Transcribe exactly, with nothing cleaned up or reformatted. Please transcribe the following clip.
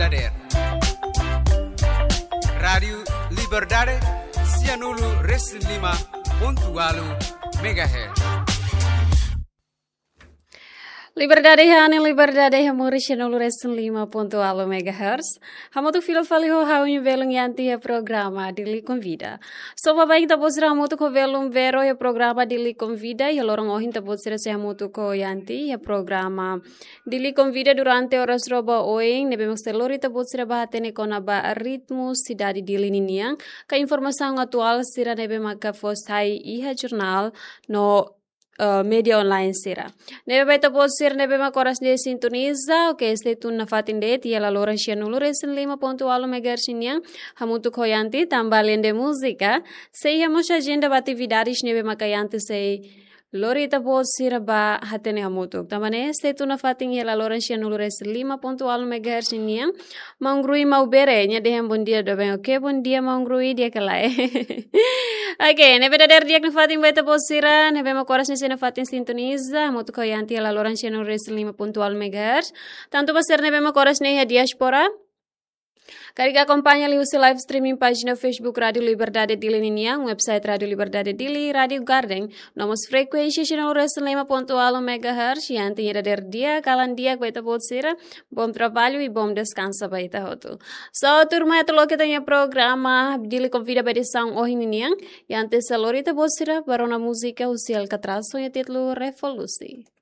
Dader. Rádiu Liberdade, sianulu resin lima pontu ualu megahertz. Liberdade iha anin, liberdade iha moris, sianulu resin lima pontu ualu megahertz. Hamutuk fila fali ho ha'u-nia belun Yanti iha programa Dili Konvida. Só ba bain ita-boot sira hamutuk ho belun Vero iha programa Dili Konvida, iha loron ohin ita-boot sira sei hamutuk ho Yanti iha programa Dili Konvida durante oras rua ba oin, ne'ebé mak sei lori ita-boot sira ba hatene kona-ba ritmu sidade Dili ninian, ka informasaun atuál sira ne'ebé maka fó sai iha jornál no, eh, média online sira. Ne'ebé ba ita-boot sira ne'ebé mak oras ne'e sintoniza, oke, stay tune nafatin de'it iha laloran sianulu resin lima pontu ualu megahertz nian, hamutuk ho Yanti, tanba alende múzika, sei iha mós ajenda ba atividades ne'ebé maka Yanti sei lori ita-boot sira ba hatene hamutuk. Tanba ne'e, stay tune nafatin iha laloran sianulu resin lima pontu ualu megahertz nian. Maun Rui Maubere, nia dehan bondia doben. Oke, bondia Maun Rui, di'ak ka lae? Oke, ne'ebé dader di'ak nafatin ba ita-boot sira ne'ebé mak oras ne'e sei nafatin sintoniza, hamutuk ho Yanti iha laloran sianulu resin lima pontu ualu megahertz. Tantu ba sira ne'ebé mak oras ne'e iha diáspora, karik akompaña liuhusi live streaming pájina Facebook Rádiu Liberdade Dili ninian, website Rádiu Liberdade Dili, Rádiu Garden, no mós frekuénsia sianulu resin lima pontu ualu megahertz, Yanti nia dader di'ak, kalan di'ak ba ita-boot sira, bom trabalho e bom descanso ba ita hotu. So, tuirmai atu loke ita-nia programa Dili Konvida ba edisaun ohin ninian, Yanti sei lori ita-boot sira ba rona múzika husi Alcatraz ho nia títulu Revolusi.